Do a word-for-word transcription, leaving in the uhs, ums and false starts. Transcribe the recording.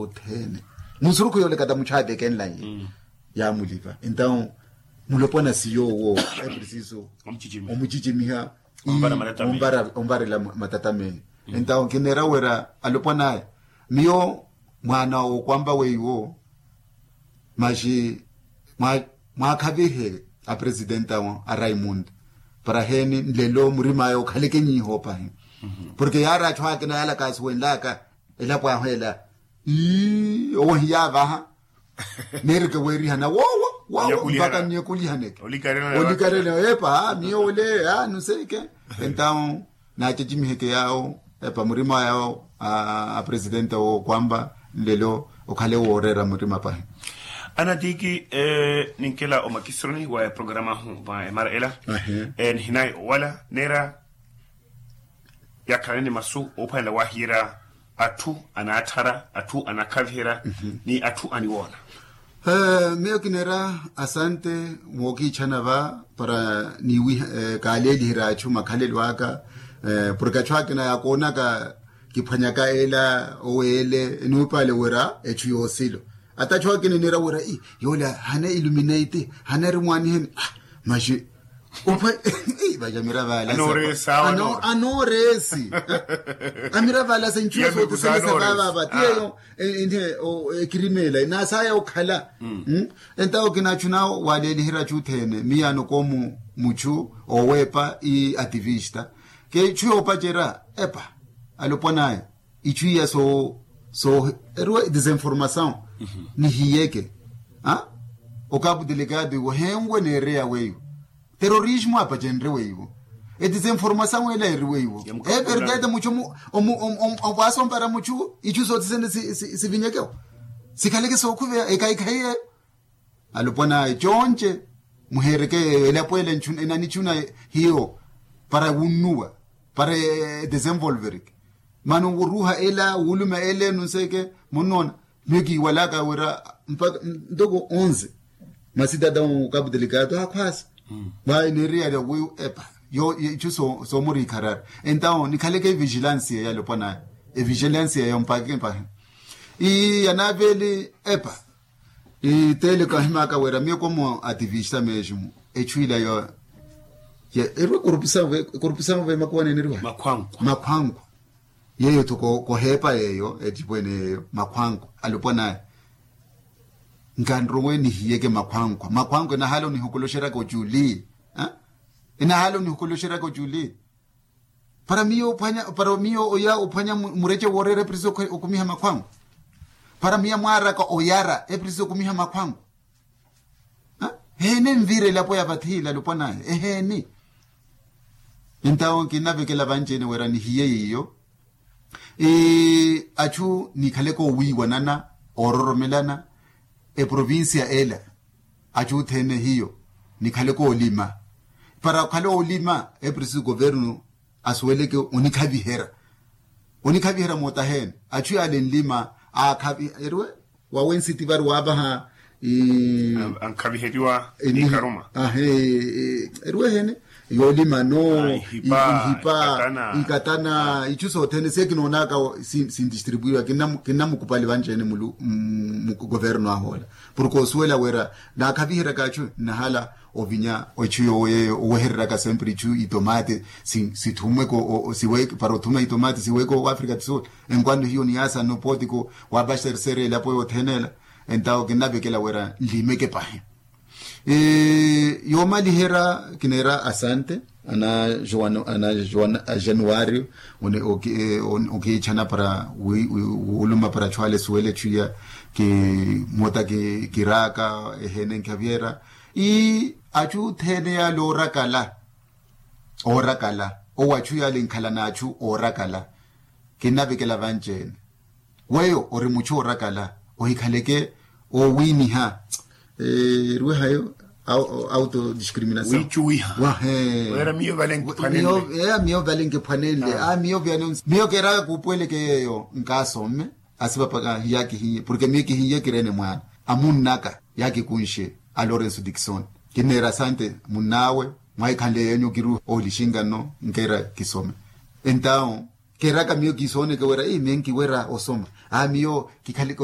Othene musurukhu yoolekata muchatekenlanye. Yaamulipa entawu mulopwana siyo wo eprisiso omucicimiha omparela matatameni. Entawu kineera wira alopwanaya miyo mwaana okwampa weiwo maxi mwaakhavihe apresidente awo a raimunda para heni nlelo murimaya okhaleke nyiiho opahi. Porke yaari achu akina yalaka asuwenlaka elapo ahu ela ii owo hiyavaha. Neereke weerihana wowo wowo mpaka nniyekulihane olikarela epa miyo ole a nuseke. Entawu naacecimiheke yaawo epa murima yaawo a presidente wo kwamba nlelo okhale wooreera murima pahi. Anatiki ninkela omakisironi wa eprograma ahu mwa emara ela nihinayi owala neera yakhalane ni masu oophwanela wahiyerya atthu anaattharya atthu anakhaviherya ni atthu aniwoona. Miyo kineera asante mookiichana va para niwiha kaaleeliherya atthu makhalelo aka porke atthu akina yakoonaka kiphwanyaka ela oweele enuupaale wira etthu yoosilo. Ata atthu akina eneera wira yoole hana illuminate hana eri mwaaniheni. Maxi opa vaja miravalasa anooreesi. Amiravalasa nchuwa sootisene sa vavava tiyeyo ekirimeela nasaya okhala. Entawo kinachu nawo waleeliherya achu othene miyaano koomu muchu oweepa i ativista kechu yoopacerya epa alopwanaya ichu iya so so eriwe desinformasaw. Nihiyeke okapu delegado iwe henwe neereya weiwo terorismo apacenrye weiwo. Edesinformasaw ela eri weiwo everdade muchu omu omu omu omu vaasompara muchu ichu sotisene sivinyekewo sikhaleke sookhuveya ekaikhayi eyo. Alopwana econce muheereke yeeyo elapo ela enanichuna hiyo para wunnuwa para edesenvolvereke. Mano wuruuha ela wuuluma ela enu nseke munnoona miyo kiiwalaka wira mpaka ntoko onze masitata okapu delikaato akhwaasa. Mwa eneriyalya wiiwo epa yo ichu soomuriikharari entawo nikhaleke evigilansiya yalopwanaya evigilansiya yo mpaka mpahi ii yanaaveli epa. Itele kahimaka wira miyo komo ativista meximu echu ila yo ya erwe korupisa ve korupisa ve makuwa neneriwa makhwanku makhwanku. Yeyo tho koheepa yeyo etipwene yeyo makhwanku alopwa naye nkanrowe nihiyeke makhwanku makhwanku enahala onihokoloxeraka ochuli enahala onihokoloxeraka ochuli. Para miyo ophwanya para miyo oya ophwanya murece woorera eprisi okumiha makhwangu para miya mwaaraka oyara eprisi okumiha makhwangu. Eheeni envira elapo ya vathi ila lupwa naye eheeni. Entawo kinnavekela vanci-ene wira nihiye yiyo achu nikhaleke owiiwanana oororomelana eprovincia ela achu othene hiyo nikhaleke olima para okhale olima eprisi governo asuweleke onikhaviherya onikhaviherya mootaheene achu yaale nlima aakhavi eriwe wawe nsiti vari waavaha ankhaviheriwa nikaruma ahe eriwe eheene yoolima no ikatana ichu sothene se kinoonaka sindistribuiwa kinnamukupali vanci-ene mulu mugoverno ahoola porke osuwela wira naakhaviheryaka achu nnahala ovinya echu yoowo yeeyo owehereryaka sempre ichu itomate sithumweke para othuma itomate siweke oafrika do sul enkwando hiyo niyaasa nopotiko waapaxersera elapo yothene ela. Entawo kinnavekela wira nlimeke pahi yoomaliherya kineera asante ana joan ana joan januario okiichana para wuuluma para chwale suwele chuya kimota kiraaka eheene nkhaviyerya ii achu othene yaale oorakala oorakala owo achu yaale nkhala n'achu oorakala kinnavekela vanci-ene weyo ori muchu oorakala ohikhaleke oowiniha eriwehayo autodiscriminasawicuwiha wahe miyo vale nkiphwanenle a miyo vyanonsi miyo keeraka kuupuweleke yeeyo nkaasome asivapaka hiyakihiye porke miyo kihiye kireene mwaana amunnaka yaakikunxe a lorenso dikson kinneera asante munn'awe mwaahikhanle yeenyu kiruha oolixinka nno nkeera kisome entawo keeraka miyo kiisooneke wira ii miyo nkiwira osoma a miyo kikhaleke